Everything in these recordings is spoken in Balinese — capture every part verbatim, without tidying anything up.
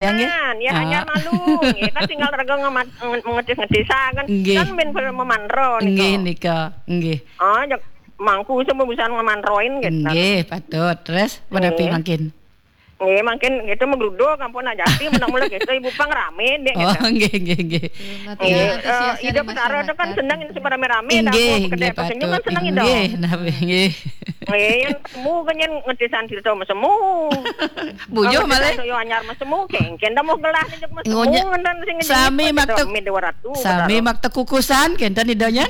Ya, nggih. Nah, ya, ah, hanya malu. Nggih, kan tinggal raga ngemat-, nge-, ngetis-ngetisaken. Nggih. Kan ben ber-, memanro nika. Nggih, nika. Nggih. Ah, jak mangku sing bisa ngemanroin gitu. Nggih, patut. Terus, menapi mangkin? Nggih, mangkin gitu menggeruduk, ampun aja. Tapi menang mula gitu, ibu pang rame, dek, oh, gitu. Nggih, nggih, nggih. Nggih, eh, Ida Petara itu kan seneng ini rame-rame, dah, nggih, mau kedai nggih, apa senyum kan patut. Seneng, Ida. Nggih, nah, nggih. Nggih, yang semu kan yang ngetisan cerita sama semu. Bujo malah. Cerita yo anyar sama semu, kengken dah mau gelah nih, sama semu, ngonya, ngenten sing sami ngejenguk, maktek, gitu, min dua ratus, sami maktek kukusan, kenten idanya.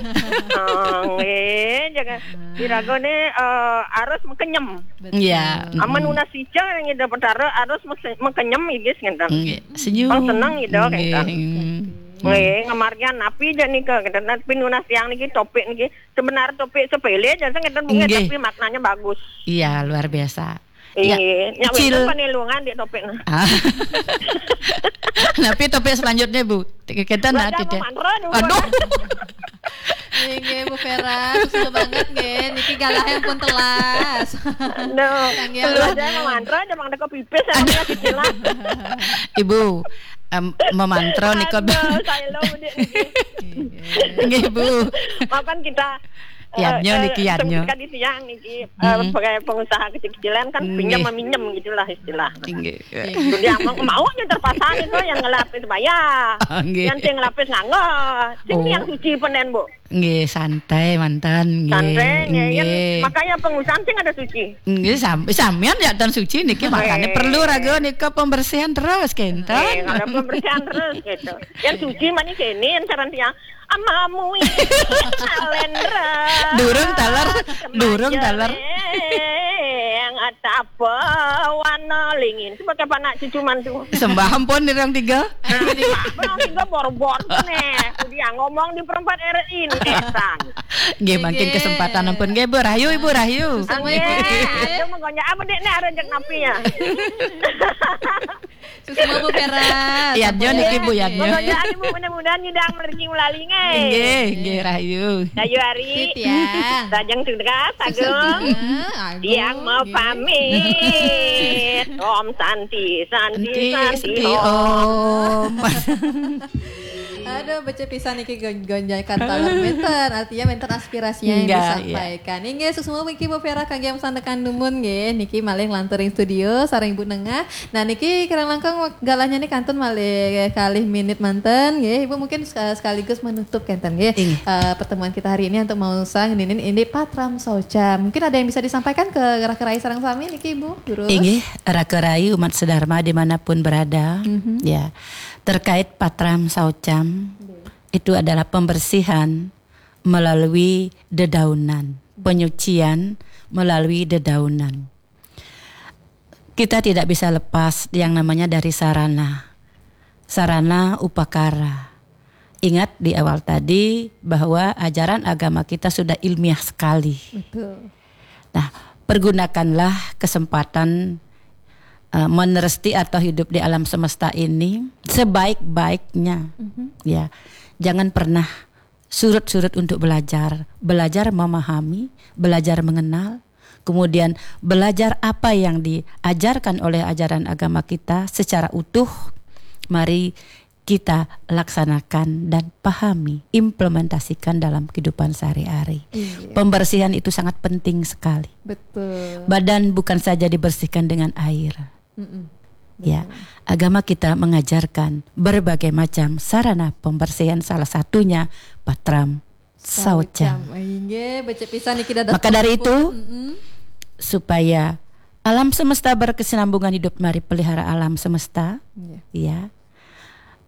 Oh, nggih, jangan. Diragone, eh, harus mekenyem. Betul. Iya. Aman nunas ica yang Ida Petara harus mese-, mekenyem igis ngenten. Nggih. Senyum. Pang seneng Ida, nggih, kenten. Hmm. Nggih, ngemarian napi aja nika, kenten. Tapi nunas yang niki topik niki sebenar topik sepele aja ngenten, nggih, tapi maknanya bagus. Iya, luar biasa. Iya. Nggih. Nyak Icil. Wénten panelungan di topik nah. Ah. Tapi topik selanjutnya, Bu. Kita nanti deh. Mantra dulu. Aduh. Nggih, Bu Vera, susu banget nggih. Niki galahnya pun telas. Aduh. Kangge. Kalau ada mantra, ada mang teko pipis, ada mang teko pipis. Ibu, em, memantra nika. Aduh, saya lo, Bu, Dik, niki. Nggih, Bu. Makan kita, eh, yadnya eh, niki, yadnya. Tadi siang niki, eh, hmm, sebagai pengusaha kecil-kecilan kan, nggih, pinjam meminjam gitulah istilah. Nggih. Jadi yang mau, mau yang terpaksa itu yang ngelapis bayar. Oh, nggih. Yang sing ngelapis nganggo. Sing, oh, yang suci penen, Bu. Nggih, santai mantan, nggih. Santai, nggih, kan nggih. Makanya pengusaha sing ada suci. Nggih, sam-, sampean ya tan suci niki, makanya, eh, perlu raga nika pembersihan terus, kenten. Eh, ada pembersihan terus gitu. Yang suci mani kene yang saran tiang, "Amamu ini kalendra." Durung taler, durung taler. Yang atap apa warna lingin. Sebagai anak cucu mantu. Sembah ampun di orang tiga. Nah, di orang tiga bor-bor nih. Udah ngomong di perempat R I nih, Sang. Nggih, mangkin kesempatan ampun. Nggih, Bu Rahayu, Ibu Rahayu. Nggih, aduh, menggonjak apa, Dek, nih, arejek napi ya? Suksma, Bu Vera. Iya, Jon niki, Bu, ya, nggih. Menggonjak, Ibu, mudah-mudahan nyidang rezeki melalui, nggih. Nggih, nggih, Rahayu. Rahayu hari. Siti ya. Rajang tugas, Agung. Yang mau pamit. Om Santi, Santi, Santi, Santi, Om. Om. Aduh, becik pisan niki gon-, gonjakan taler menten. Artinya menten aspirasinya yang disampaikan. Enggak, iya. Inggih, suksma niki Bu Vera kangge yang sandekan dumun nggih. Niki malih nglantur ring studio sareng Ibu Nengah. Nah, niki kirang langkung wak-, galahnya nih kantun malih kalih minit manten nggih. Ibu mungkin sek-, sekaligus menutup kenten nggih. Inggih. Eh, pertemuan kita hari ini untuk maos ngeninin ini Patram Saucam. Mungkin ada yang bisa disampaikan ke raka rai sareng sami niki, Ibu, Guru? Inggih, raka rai umat sedharma dimanapun berada. Mhm. Ya. Terkait Patram Saucam, itu adalah pembersihan melalui dedaunan, penyucian melalui dedaunan. Kita tidak bisa lepas yang namanya dari sarana. Sarana upakara. Ingat di awal tadi bahwa ajaran agama kita sudah ilmiah sekali. Betul. Nah, pergunakanlah kesempatan, eh, meneresti atau hidup di alam semesta ini sebaik-baiknya. Mhm. Ya, jangan pernah surut-surut untuk belajar. Belajar memahami, belajar mengenal. Kemudian belajar apa yang diajarkan oleh ajaran agama kita secara utuh. Mari kita laksanakan dan pahami, implementasikan dalam kehidupan sehari-hari. Iya. Pembersihan itu sangat penting sekali. Betul. Badan bukan saja dibersihkan dengan air. Mm-mm. Ya, betul. Agama kita mengajarkan berbagai macam sarana pembersihan, salah satunya Patram Saucam. Saucam. Inggih, becik pisan niki dados. Maka dari itu, mm-mm, supaya alam semesta berkesinambungan hidup, mari pelihara alam semesta. Iya. Ya.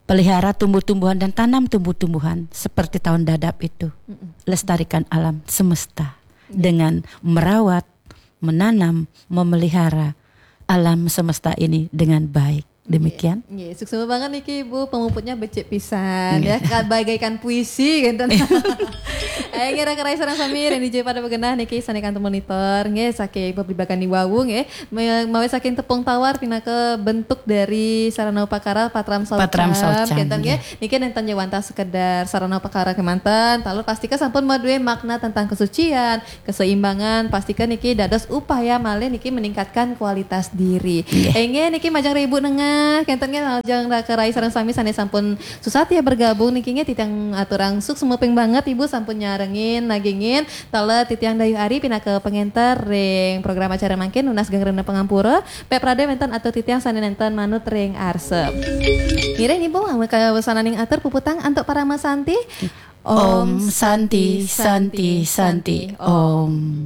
Pelihara tumbuh-tumbuhan dan tanam tumbuh-tumbuhan seperti tahun dadap itu. Mm-mm. Lestarikan alam semesta, iya, dengan merawat, menanam, memelihara alam semesta ini dengan baik. Demikian. Nggih, nggih. Suksma banget niki, Ibu, pemuputnya becik pisan, nggih, ya, ka-, bagaikan puisi gitu. Ayo ngira kerai sareng sami, Randy J pada begenah niki sané kantun monitor nggih saking pabligbagan wau nggih. Me- Mawi saking tepung tawar pinaka bentuk dari sarana upakara patram saucam. Patram saucam, Kenten nggih. Nggih. Niki nénten jawanta sekedar sarana upakara kemanten, taler pastika sampun madué makna tentang kesucian, keseimbangan, pastika niki dados upaya malih niki meningkatkan kualitas diri. Nggih. Inggih niki majeng Ibu Nengah, kenten nggih majeng Raka Rai sareng sami sané sampun susah ya bergabung niki nggih titiang aturang suksma banget Ibu sampun nyarengin nagingin taler titiang Dayu Ari pinaka pengenter ring program acara mangkin nunas geng rena pangampura pep rada wénten atur titiang sané nénten manut ring arsep. Ngiring Ibu kawesananing atur puputang antuk parama santi. Om Santi, Santi, Santi, Om.